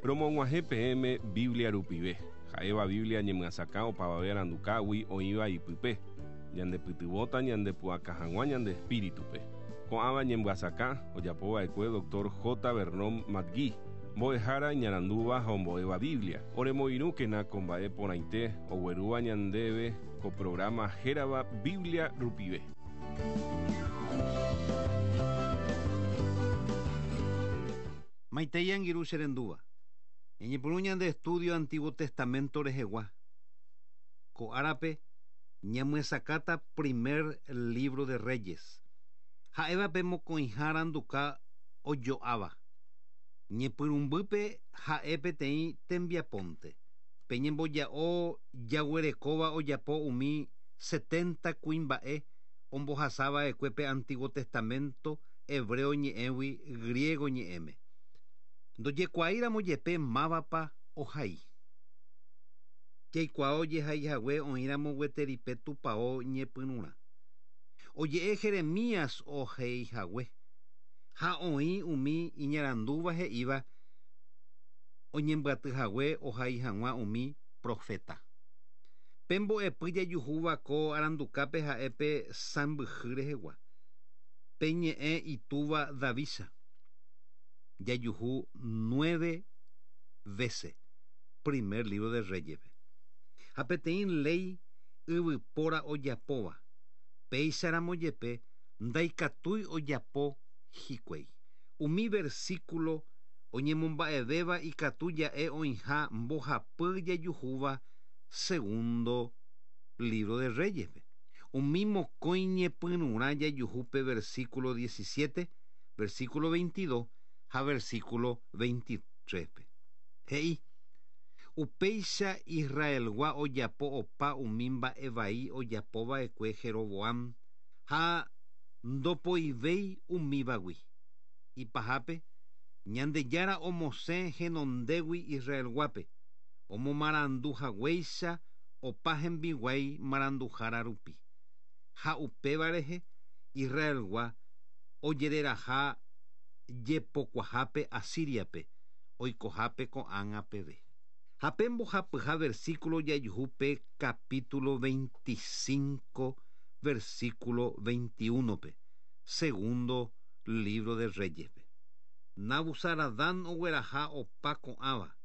Romog̃uahẽ peẽme Biblia rupive, ha'éva Biblia ñemyasakã opavave arandukágui oĩva ipype, ñandepytyvõta ñandepu'aka hag̃ua ñande espíritupe. Ko'ãva ñemyasakã ojapova'ekue Dr. J. Vernon McGee, mbo'ehára iñarandúva ha ombo'éva Biblia. Oremoirũkena ko mba'e porãite oguerúva ñandéve ko programa hérava Biblia rupive. Maitei angirũ che rendúva. Ñañepyrũ ñande estudio Antiguo Testamento rehegua. Ko árape ñamyesakãta primer libro de Reyes. Ha'éva pe mokõiha aranduka ojo'áva. Ñepyrũmbýpe ha'e peteĩ tembiapónte. Pe ñemboja'o jaguerekóva ojapo umi setenta kuimba'e ombohasava'ekue pe Antiguo Testamento hebreo ñe'ẽgui griego ñe'ẽme. Ndojekuaáiramo jepe mávapa ohai. Jaikuaa ojehaihague oĩramo gueteri pe tupão ñepyrũrã. Oje'e Jeremías ohaihague ha oĩ umi iñarandúva he'íva oñembyatyhague ohai hag̃ua umi profeta. Pe mbo'epy jajuhúva ko arandukápe ha'e pe sãmbyhy rehegua. Pe ñe'ẽ itúva Davícha. Jajuhu nueve vece primer libro de Reyes-pe. Ha peteĩ léi yvypóra ojapóva, péicharamo jepe ndaikatúi ojapo hikuái. Umi versículo oñemomba'evéva ikatu ja'e oĩha mbohapy jajuhúva segundo libro de Reyes-pe. Umi mokõi ñepyrũrã jajuhu pe versículo 17, versículo 22 ha versículo 23-pe. He'i, Upéicha Israelgua ojapo opa umi mba'e vai ojapova'ekue Jeroboam ha ndopoivéi umívagui. Ipahápe, Ñandejára omosẽ henondégui Israelguápe, omomaranduhaguéicha opa hembiguái maranduhára rupi. Ha upéva rehe Israelgua ojereraha jepokuahápe Asíriape, oikohápe ko'ág̃a peve. Ha pe mbohapyha versículo jajuhu pe capítulo 25, versículo 21-pe, segundo libro de Reyes-pe. Nabuzaradán ogueraha opa ko'ãva,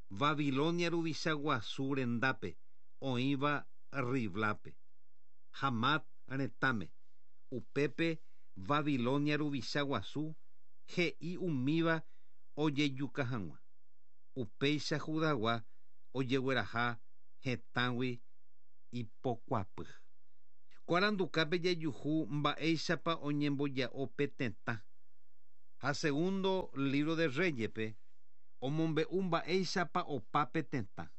Babilonia ruvicha guasu rendápe, oĩva Riblápe, Hamat retãme. Upépe Babilonia ruvicha guasu he'i umíva ojejuka hag̃ua. Upéicha Judagua ojegueraha hetãgui ipokuapy. Ko arandukápe jajuhu mba'éichapa oñemboja'o pe tetã. Ha segundo libro de Reyes-pe omombe'u mba'éichapa opa pe tetã.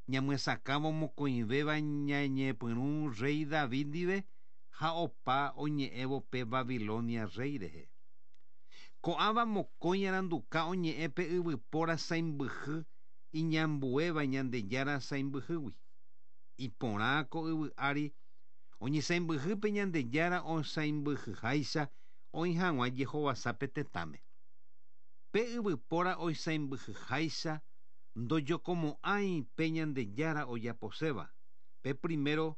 Ñamyesakãvo mokõivéva ñañepyrũ rey David ndive ha opa oñe'ẽvo pe Babilonia rey rehe. Ko'ãva mokõi aranduka oñe'ẽ pe yvypóra sãimbyhy iñambuéva Ñandejára sãimbyhýgui. Iporã ko yvy ári oñesãimbyhy pe Ñandejára osãimbyhyháicha oĩ hag̃ua jehovasa pe tetãme. Pe yvypóra oisãimbyhyháicha ndojokomo'ãi pe Ñandejára ojaposéva. Pe primero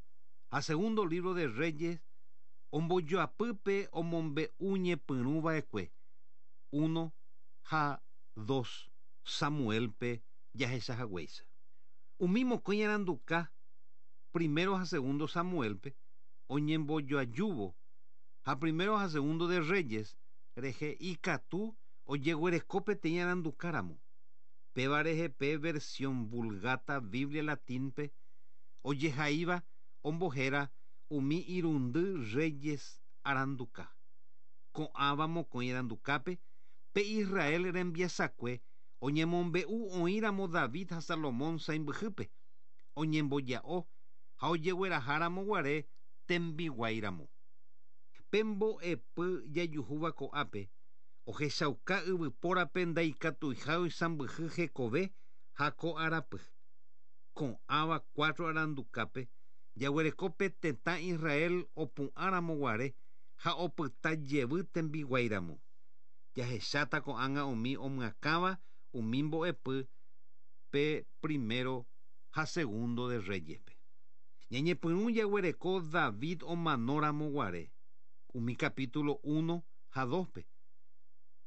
ha segundo libro de Reyes ombojoapy pe omombe'u ñepyrũva'ekue 1 ha 2 Samuel-pe jahechahaguéicha. Umi mokõi aranduka primero ha segundo Samuel-pe oñembojoajúvo ha primero ha segundo de Reyes rehe ikatu ojeguereko peteĩ arandukáramo. Péva rehe pe versión Vulgata Biblia latín-pe ojehaíva ombohéra umi irundy Reyes aranduka. Ko'ãva mokõi arandukápe pe Israel rembiasakue oñemombe'u oĩramo David ha Salomón sãimbyhýpe, oñemboja'o ha ojegueraháramo guare tembiguáiramo. Pe mbo'epy jajuhúva ko'ápe ohechauka yvypórape ndaikatuiha oisãmbyhy hekove ha ko arapy. Ko'ãva cuatro arandukápe jaguereko pe tetã Israel opu'ãramo guare ha opyta jevy tembiguáiramo. Jahecháta ko'ág̃a umi omyakãva umi mbo'epy pe primero ha segundo de Reyespe. Ñañepyrũ jaguereko David omanóramo guare, umi capítulo 1 ha 2-pe,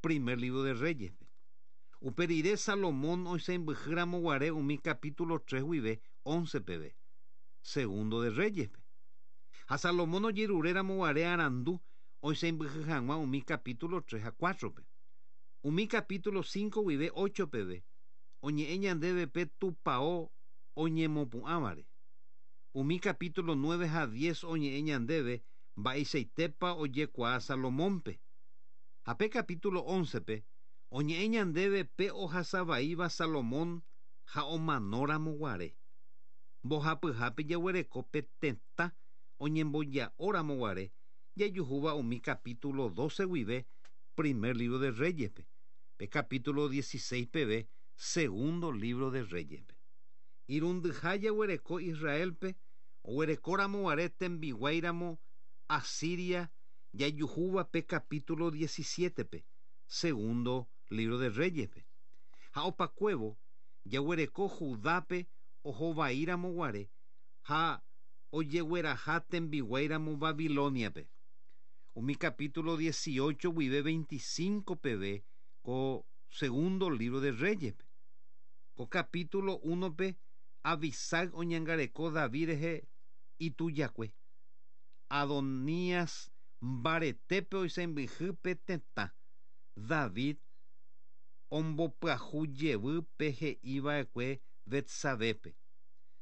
primer libro de Reyespe. Upe rire Salomón oisãmbyhýramo guare umi capítulo 3 guive 11 peve, segundo de Reyespe. Ha Salomón ojeruréramo guare arandu oisãmbyhy hag̃ua umi capítulo 3 ha 4-pe. Umi capítulo 5 guive 8 peve, oñe'ẽ ñandéve pe tupão oñemopu'ãvare. Umi capítulo 9 ha 10 oñe'ẽ ñandéve mba'eichaitépa ojekuaa Salomónpe. Ha pe capítulo 11-pe oñe'ẽ ñandéve pe ohasavaíva Salomón ha omanóramo guare. Mbohapyhápe jaguereko pe tetã oñemboja'óramo guare jajuhúva umi capítulo 12 guive primer libro de Reyespe, pe capítulo 16 peve segundo libro de Reyespe. Irundyha jaguereko Israelpe oguerekóramo guare tembiguáiramo Asiria jajuhúva pe capítulo 17-pe, segundo libro de Reyespe. Ha opakuévo jaguereko Judápe ohovaíramo guare ha ojegueraha tembiguáiramo Babiloniape. Umi capítulo 18 guive 25 peve ko segundo libro de Reyespe. Ko capítulo 1-pe Abisag oñangareko David rehe itujakue. Adonías mbaretépe oisãmbyhy pe tetã. David ombopyahu jevy pe he'iva'ekue Betsabepe.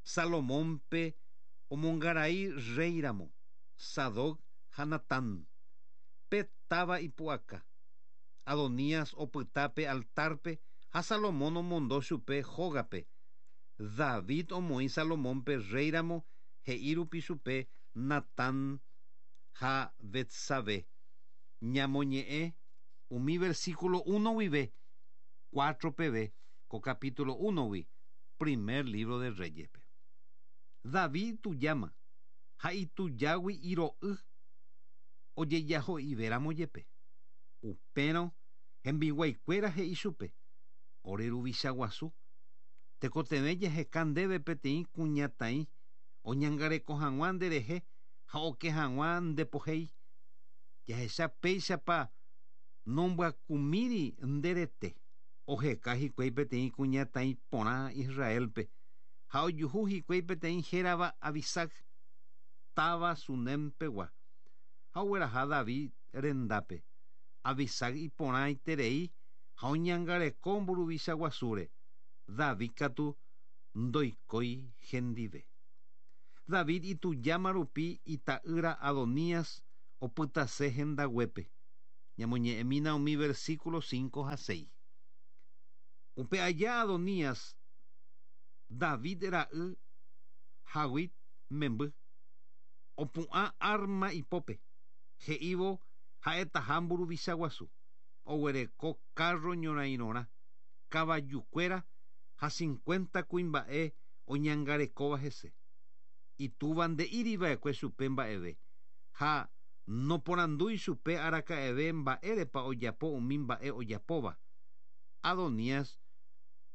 Salomónpe omongarai réiramo, Sadoc ha Natán. Pe táva ipu'aka. Adonías opyta pe altarpe ha Salomón omondo chupe hógape. David omoĩ Salomónpe réiramo he'i rupi chupe Natán ha Betsabé. Ñamoñe'ẽ umi versículo 1 guive 4 peve ko capítulo 1-gui primer libro de Reyespe. David itujáma ha itujágui iro'y ojejaho'ivéramo jepe. Upérõ hembiguaikuéra he'i chupe, ore ruvicha guasu, tekotevẽ jaheka ndéve peteĩ kuñataĩ oñangareko hag̃ua nderehe ha oke hag̃ua ndepohéi. Jahecha péichapa nombyakumíri nderete. Oheka hikuái peteĩ kuñataĩ porã Israelpe ha ojuhu hikuái peteĩ hérava Abisag, táva Sunempegua, ha ogueraha David rendápe. Abisag iporãiterei ha oñangareko mburuvicha guasúre. David katu ndoikói hendive. David itujáma rupi ita'ýra Adonías opytase hendaguépe. Ñamoñe'ẽmína umi versículo 5 ha 6. Upe aja Adonías, David ra'y Haguit memby, opu'ã arma ipópe, he'ívo ha'etaha mburuvicha guasu, oguereko carro ñorairõrã, kavajukuéra ha 50 kuimba'e oñangarekóva hese. Itúva nde'íriva'ekue chupe mba'eve ha noporandúi chupe araka'eve mba'érepa ojapo umi mba'e ojapóva. Adonías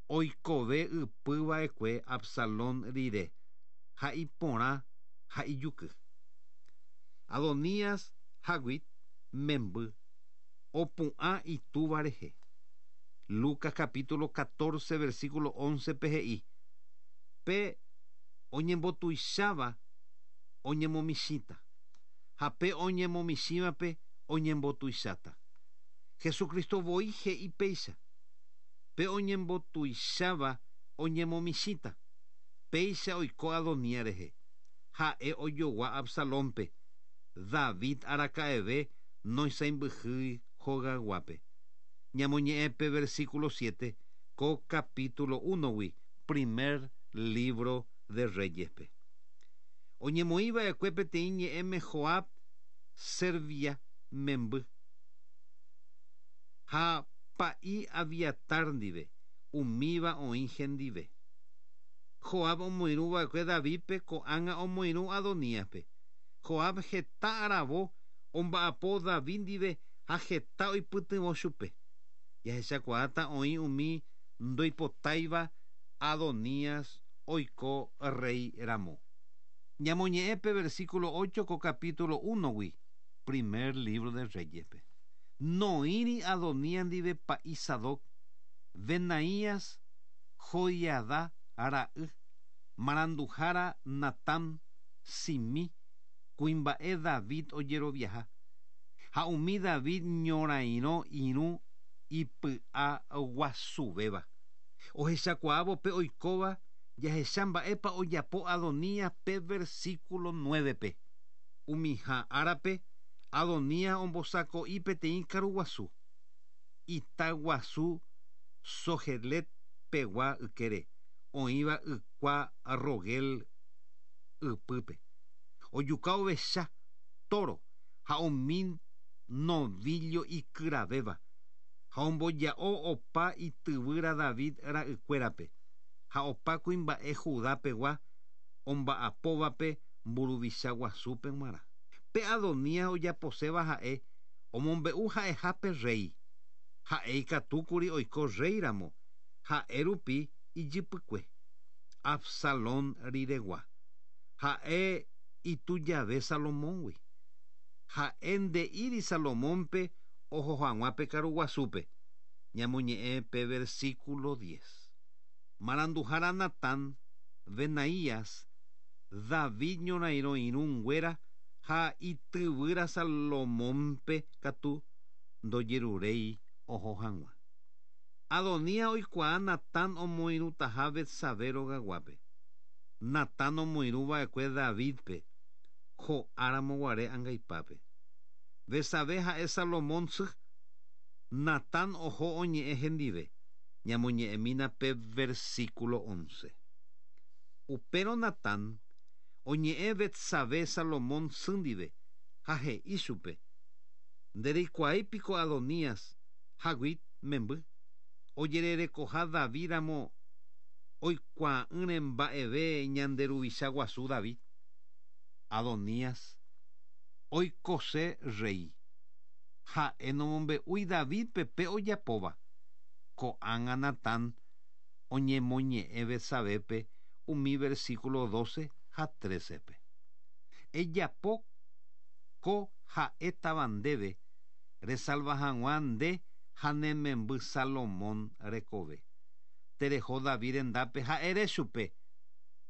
oikove ypyva'ekue Absalón rire ha iporã ha ijuky. Adonías Haguit memby opu'ã itúva rehe. Lucas capítulo 14 versículo 11 pe he'i, pe oñembotuicháva oñemomichĩta, ha pe oñemomichĩvape oñembotuicháta. Jesucristo voi he'i péicha, pe oñembotuicháva oñemomichĩta, péicha oiko Adonías rehe, ha'e ojogua Absalónpe, David araka'eve noisãimbyhýi hogayguápe. Ñamoñe'ẽ pe versículo 7 ko capítulo 1-gui primer libro de Reyespe. Oñemoĩva'ekue peteĩ ñe'ẽme Joab Servia memby ha pa'i Abiatar ndive, umíva oĩ hendive. Joab omoirũva'ekue Davidpe ko'ág̃a omoirũ Adoníaspe. Joab heta aravo omba'apo David ndive ha heta oipytyvõ chupe. Jahechakuaáta oĩ umi ndoipotáiva Adonías oiko rey ramo. Ñamoñe'ẽ pe versículo 8 ko capítulo 1-gui, primer libro de Reyes-pe. Noĩri Adonías ndive pa'i Sadoc, Benaías, Joiadá ra'y, maranduhára Natán, Simí, kuimba'e David ojeroviaha, ha umi David ñorairõ irũ ipy'a guasuvéva. Ohechakuaávo pe oikóva jahecha mba'épa ojapo Adonías pe versículo 9-pe. Umiha árape Adonías ombosako'i peteĩ karuguasu. Ita guasu Zohelet pegua ykére, oĩva ykua Rogel ypýpe. Ojuka ovecha, toro ha umi novillo ikyravéva, ha omboja'o opa ityvýra David ra'ykuérape, ha opa kuimba'e Judá pegua omba'apóvape mburuvicha guasúpe g̃uarã. Pe Adonías ojaposéva ha'e omombe'u ha'eha pe rey. Ha'e ikatúkuri oiko rey ramo, ha'e rupi ijypykue. Absalón riregua. Ha'e itujave Salomóngui. Ha'e nde'íri Salomónpe oho hag̃ua pe karuguasúpe. Ñamoñe'ẽ pe versículo 10. Maranduhára Natán, Benaías, David ñorairõ irũnguéra ha ityvýra Salomónpe katu ndojeruréi oho hag̃ua. Adonías oikuaa Natán omoirũtaha Betsabé rogaguápe. Natán omoirũva'ekue Davidpe, ho'áramoguare angaipápe. Betsabé ha'e Salomón sy. Natán oho oñe'ẽ hendive. Ñamoñe'ẽmína pe versículo 11. Upérõ Natán oñe'ẽ Betsabé Salomón sy ndive ha he'i chupe. Ndereikuaáipiko Adonías, Haguit memby, ojererekoha David ramo oikuaa'ỹre mba'eve ñande ruvicha guasu David. Adonías oikose rey. Ha'e nomombe'úi Davidpe pe ojapóva. Ko'ág̃a Natán oñemoñe'ẽ Betsabépe umi versículo 12 ha 13-pe. Ejapo ko ha'étava ndéve resalva hag̃ua nde ha ne memby Salomón rekove. Tereho David rendápe ha ere chupe,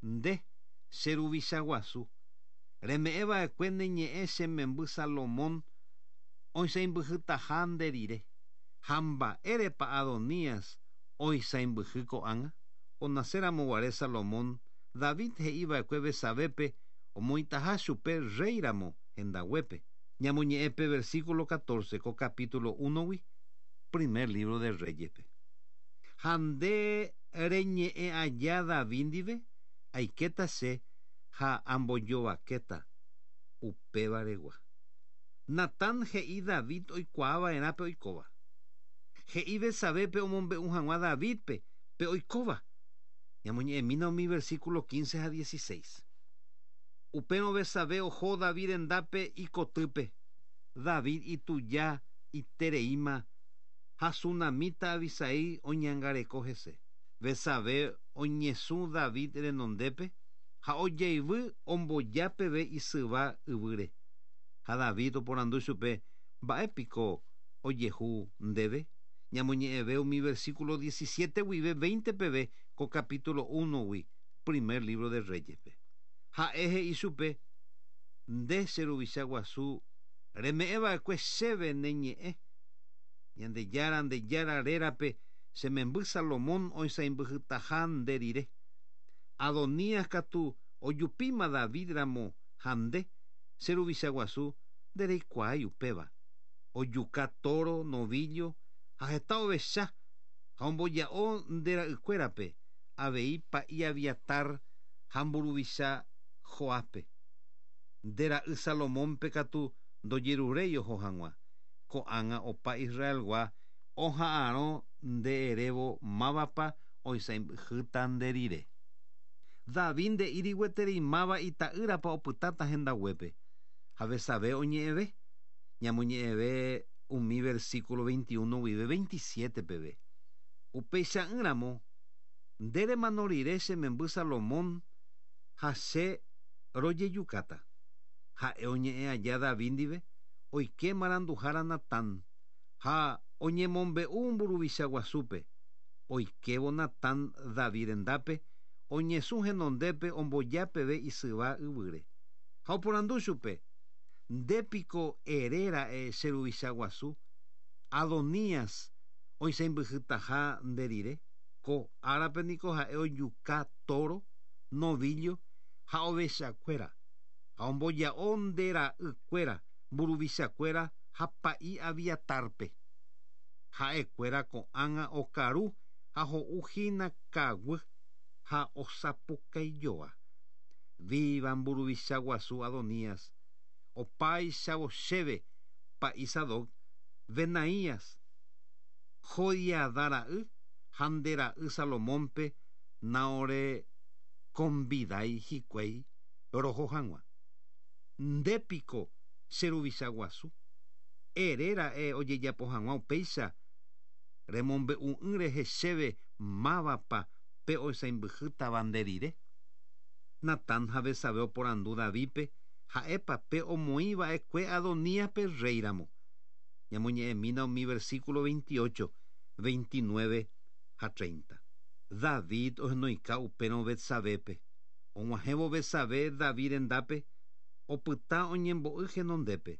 nde, che ruvicha guasu, reme'ẽva'ekue ne ñe'ẽ che memby Salomón oisãimbyhytaha nde rire. Ha mba'érepa Adonías oisãimbyhy ko'ág̃a? Onacéramoguare Salomón, David he'iva'ekue Betsabépe omoĩtaha chupe rey ramo hendaguépe. Ñamoñe'ẽ pe versículo 14 ko capítulo 1-gui, primer libro de Reyes-pe. Ha nde reñe'ẽ aja David ndive, aikéta che ha ambojovakéta upévaregua. Natán he'i David oikuaava'erã pe oikóva. He'i Betsabépe omombe'u hag̃ua Davidpe pe oikóva. Ñamoñe'ẽmína umi versículo 15 ha 16. Upérõ Betsabé oho David rendápe ikotýpe. David ituja itereíma ha sunamíta Abisai oñangareko hese. Betsabé oñesũ David renondépe ha ojeivy omboja peve isyva yvýre. Ha David oporandu chupe mba'épiko ojehu ndéve. Ñamoñe'ẽve umi versículo 17 guive 20 peve ko capítulo 1-gui, primer libro de Reyes-pe. Ha'e he'i chupe, nde che ruvicha guasu reme'ẽva'ekue chéve ne ñe'ẽ. Ñandejára nde Jára rérape che memby Salomón oisãimbyhytaha nde rire. Adonías katu ojupíma David ramo ha nde, che ruvicha guasu ndereikuaái upéva. Ojuka toro, novillo ha heta ovecha ha omboja'o nde ra'ykuérape avei pa'i Abiatar ha mburuvicha Joápe. Nde ra'y Salomónpe katu ndojeruréi oho hag̃ua. Ko'ág̃a opa Israelgua oha'arõ nde erévo mávapa oisãimbyhýta nde rire. David nde'íri gueteri máva ita'ýrapa opytáta hendaguépe. Ha Betsabé oñe'ẽve. Ñamoñe'ẽve umi versículo 21 guive 27 peve. Upeicha'ỹramo, nde remano rire che memby Salomón ha che rojejukáta. Ha'e oñe'ẽ aja David ndive, oike maranduhára Natán, ha oñemombe'u mburuvicha guasúpe. Oikévo Natán David rendápe, oñesũ henondépe omboja peve isyva yvýre. Ha oporandu chupe, Nde piko ere ra'e che ruvicha guasu, Adonías oisãimbyhytaha nde rire? Ko árape niko ha'e ojuka tóro, novíllo ha ovechakuéra, ha omboja'o nde ra'ykuéra, mburuvichakuéra ha pa'i Abiatárpe. Ha'ekuéra ko'ág̃a okaru ha ho'u hína kaguy ha osapukaijoa. Víva mburuvicha guasu Adonías! Opáichavo chéve pa'i Sadoc, Benaías, Joiadá ra'y ha nde ra'y Salomónpe naorekonvidái hikuái roho hag̃ua. Nde piko che ruvicha guasu? Ere ra'e ojejapo hag̃ua upéicha, remombe'u'ỹ rehe chéve mávapa pe oisãimbyhýtava nde rire. Natán ha Betsabé oporandu Davídpe ha'épa pe omoĩ va'ekue Adoníaspe rréiramo. Ñamoñe'ẽmína umi versíkulo 28, 29 ha 30. David ohenoika upérõ Betsabépe. Og̃uahẽvo Betsabé David rendápe, opyta oñembo'y henondépe.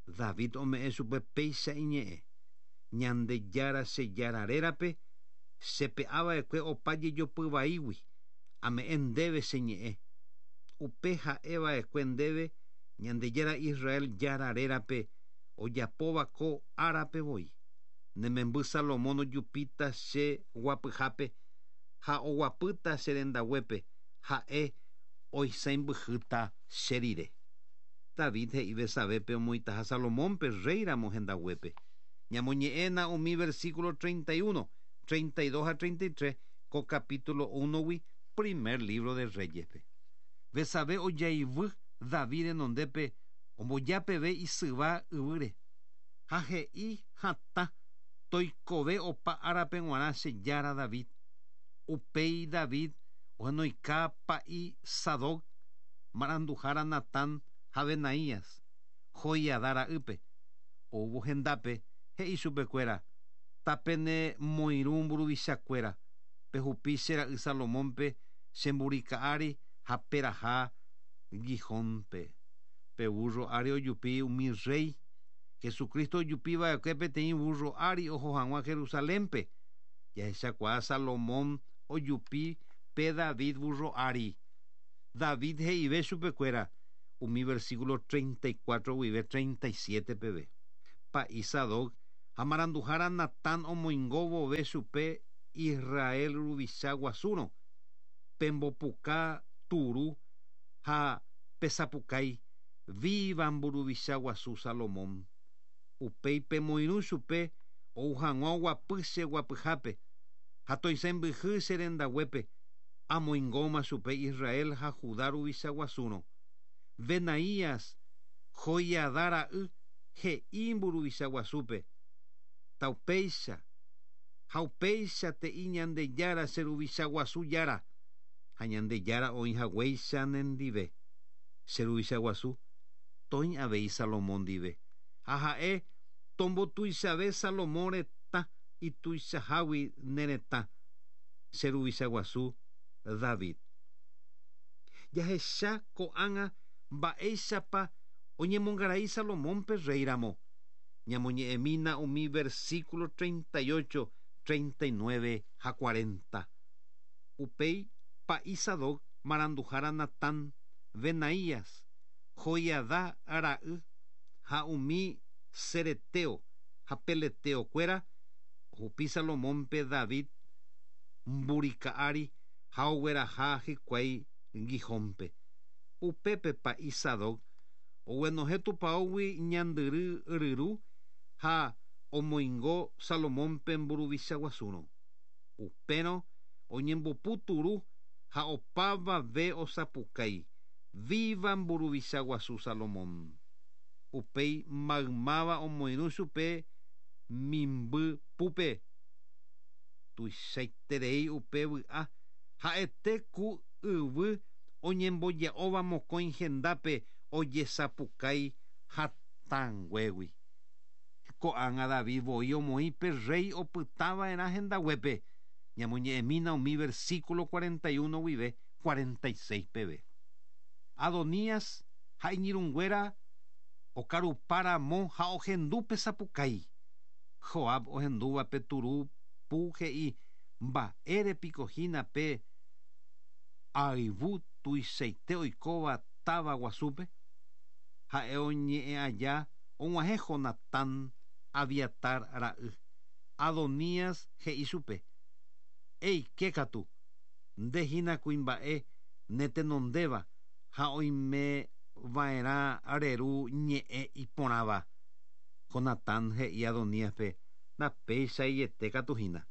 David ome'ẽ chupe péicha iñe'ẽ, Ñandejára che Jára rérape, che pe'a va'ekue opa jejopy vaígui, ame'ẽ ndéve che ñe'ẽ. Upe ha'e va'ekue ndéve Ñandejára Israel Jára rérape, ojapóva ko árape voi. Ne memby Salomón ojupíta che guapyhápe ha oguapýta che rendaguépe, ha'e oisãimbyhýta che rire. David he'i Betsabépe omoĩtaha Salomónpe rréi ramo hendaguépe. Ñamoñe'ẽna umi versículo 31, 32 ha 33 ko capítulo únogui primer lívro de Réyespe. Betsabé ojaivy David renondépe omboja peve isyva yvýre, ha he'i hatã, Toikove opa árape g̃uarã che jára David. Upéi David ohenoika pa'i Sadoc, maranduhára Natán ha Benaías, Joiadá ra'ýpe. Oúvo hendápe, he'i chupekuéra, Tapene moirũ mburuvichakuéra, pehupi che ra'y Salomónpe che mburika ári ha peraha Gihónpe. Pe vúrro ári ojupi umi rréi. Jesucristo ojupi va'ekue peteĩ vúrro ári oho hag̃ua Jerusalénpe. Jahechakuaa Salomón ojupi pe David vúrro ári. David he'ive chupekuéra umi versículo 34 guive 37 peve. Pa'i Sadoc ha maranduhára Natán omoingo vove chupe Israel ruvicha guasúrõ, pembopuka turu ha Pesapukái, Víva mburuvicha guasu Salomón! Upéi pemoirũ chupe ou hag̃ua oguapy che guapyhápe, ha toisãmbyhy che rendaguépe, amoingóma chupe Israel ha Judá ruvicha guasúrõ. Benaías, Joiadá ra'y, he'i mburuvicha guasúpe, Taupéicha, ha upéicha te'i Ñandejára che ruvicha guasu Jára! Ha Ñandejára oĩ haguéicha nendive, che ruvicha guasu, toĩ avei Salomón ndive, ha ha'e tombotuichave Salomón retã ituichahágui ne retã, che ruvicha guasu David. Jahecha ko'ág̃a mba'éichapa oñemongarai Salomónpe rréi ramo. Ñamoñe'ẽmína umi versículo 38, 39 ha 40. Upéi pa'i Sadoc, maranduhára Natán, Benaías, Joiadá ra'y ha umi ceretéo ha peletéo kuéra ohupi Salomónpe David mburika ári ha ogueraha hikuái Gihónpe. Upépe pa'i Sadoc oguenohẽ tupaógui ñandyry ryru ha omoingo Salomónpe mburuvicha guasúrõ. Upérõ oñembopu turu ha opavave osapukái, Víva mburuvicha guasu Salomón! Upéi maymáva omoirũ chupe mimby púpe. Tuichaiterei upe vy'a ha'ete ku yvy oñemboja'óva mokõi hendápe ojesapukái hatãnguégui. Ko'ág̃a David voi omoĩ pe rréi opytava'erã hendaguépe. Ñamoñe'ẽmína umi versículo 41 guive 46 peve. Adonías ha iñirũnguéra okarupa ramo ha ohendu pe sapukái. Joab ohendúva pe turu pu he'i, Mba'ére piko hína pe ayvu tuichaite oikóva táva guasúpe? Ha'e oñe'ẽ aja og̃uahẽ Jonatán, Abiatar ra'y. Adonías he'i chupe, Eike katu, nde hína kuimba'e ne tenondéva ha oime va'erã reru ñe'ẽ iporãva. Jonatán he'i Adoníaspe, Ndapeichaiete katu hína.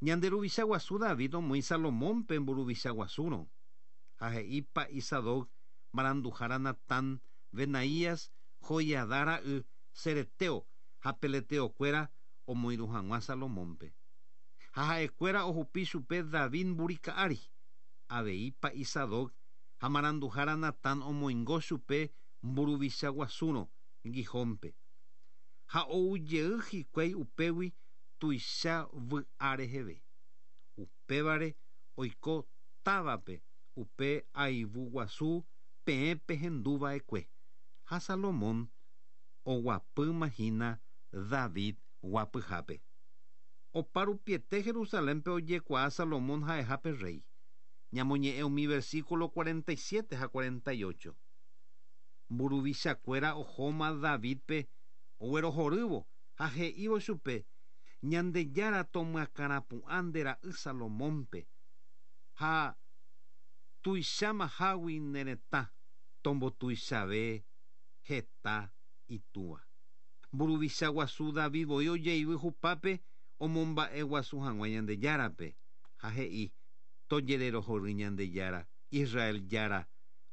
Ñande ruvicha guasu David omoĩ Salomónpe mburuvicha guasúrõ. Ha he'i pa'i Sadoc, maranduhára Natán, Benaías, Joiadá ra'y, cereteo ha peleteokuéra omoirũ hag̃ua Salomónpe. Ha ha'ekuéra ohupi chupe David mburika ári. Avei pa'i Sadoc ha maranduhára Natán omoingo chupe mburuvicha guasúrõ Gihónpe. Ha ou jey hikuái upégui tuicha vy'a reheve. Upévare oiko távape upe ayvu guasu peẽ pehendu va'ekue, ha Salomón oguapýma hína David guapyhápe. Opa rupiete Jerusalénpe ojekuaa Salomón ha'eha pe rréi. Ñamoñe'ẽ umi versículo 47 ha 48. Mburuvichakuéra ohóma Davídpe oguerohorývo ha he'ívo chupe, Ñandejára tomyakãrapu'ã nde ra'y Salomónpe, ha tuichámahágui ne retã, tombotuichave heta itúva. Mburuvicha guasu David voi ojeivy hupápe omomba'eguasu hag̃ua Ñandejárape, ha he'i, Tojererohory Ñandejára, Israel Jára,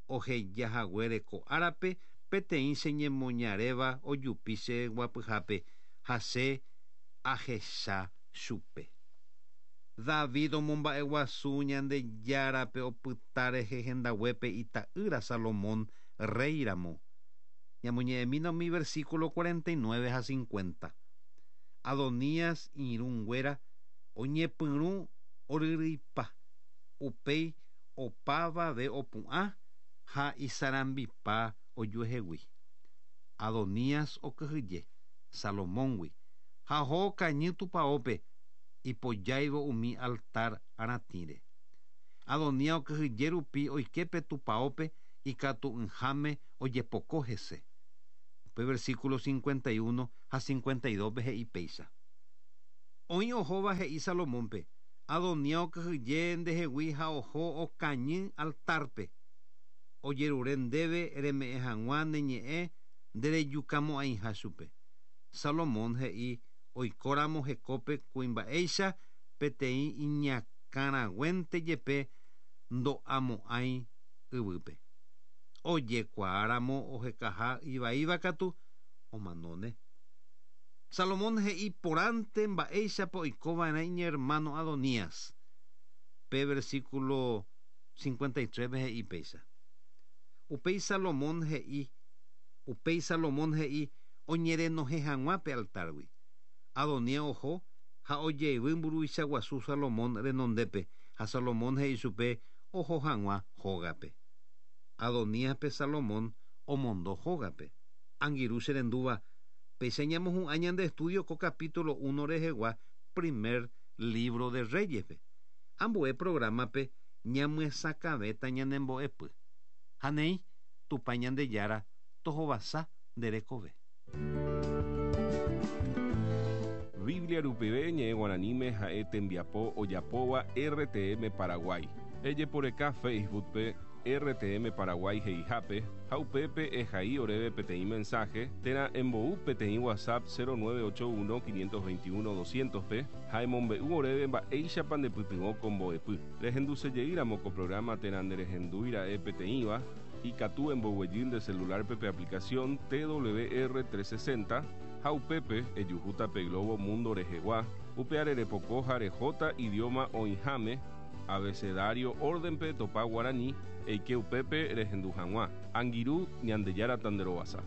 oheja haguére ko árape peteĩ che ñemoñaréva ojupi che guapyhápe, ha che ahecha chupe. David omomba'eguasu Ñandejárape opyta rehe hendaguépe ita'ýra Salomón rréi ramo. Ñamoñe'ẽmína umi versículo 49 ha 50. Adonías irũ nguéra oñepyrũ oryryipa, upéi opavave opu'ã ha isarambipa ojuehegui. Adonías okyhyje Salomóngui ha oho okañy tupaópe ipojáivo umi altar aratĩre. Adonías okyhyje rupi oike pe tupaópe ikatu'ỹháme ojepoko hese. Upe versículo 51 ha 52-pe he'i péicha. Oĩ ohóva he'i Salomónpe, Adonías okyhyje ndehegui ha oho okañy altárpe. Ojerure ndéve reme'ẽ hag̃ua ne ñe'ẽ nderejukamo'ãiha chupe. Salomón he'i oikóramo hekópe kuimba'éicha peteĩ iñakãraguénte jepe ndo'amo'ãi yvýpe. Ojekuaáramo ohekaha ivaíva katu, omanóne. Salomón he'i porãnte mba'éichapa oikova'erã iñermáno Adonías. Pe versículo 53-pe he'i péicha, Upéi Salomón he'i, Upéi Salomón he'i oñerenohẽ hag̃ua pe altárgui. Adonías oho ha ojeyvy mburuvicha guasu Salomón renondépe, ha Salomón he'i chupe oho hag̃ua hógape. Adoníaspe Salomón omondo hógape. Angirũ che rendúva, péicha ñamohu'ã ñande estudio ko capítulo uno rehegua primer libro de Reyes-pe. Ambue programa-pe ñamyesakãvéta ñane mbo'epy. Ha néi, Tupã Ñandejára tohovasa nde rekove. Biblia rupive ñe'ẽ guaraníme ha'e tembiapo ojapóva RTM Paraguay. Ejeporeka Facebook-pe RTM Paraguay he'ihápe ha upépe ehai oréve peteĩ mensaje térã embou peteĩ WhatsApp 0981 521 200-pe ha emombe'u oréve mba'éichapa ndepytyvõ ko mbo'epy. Rehendusejeýramo ko programa térã nderehendúira'e peteĩva, Ikatu emboguejy nde celular-pe pe aplicación TWR 360 ha upépe ejuhúta pe globo mundo rehegua. Upéare repoko ha rehóta idioma oĩháme, abecedario orden-pe topa guarani, eike upépe rehendu hag̃ua. Angirũ, Ñandejára tanderovasa.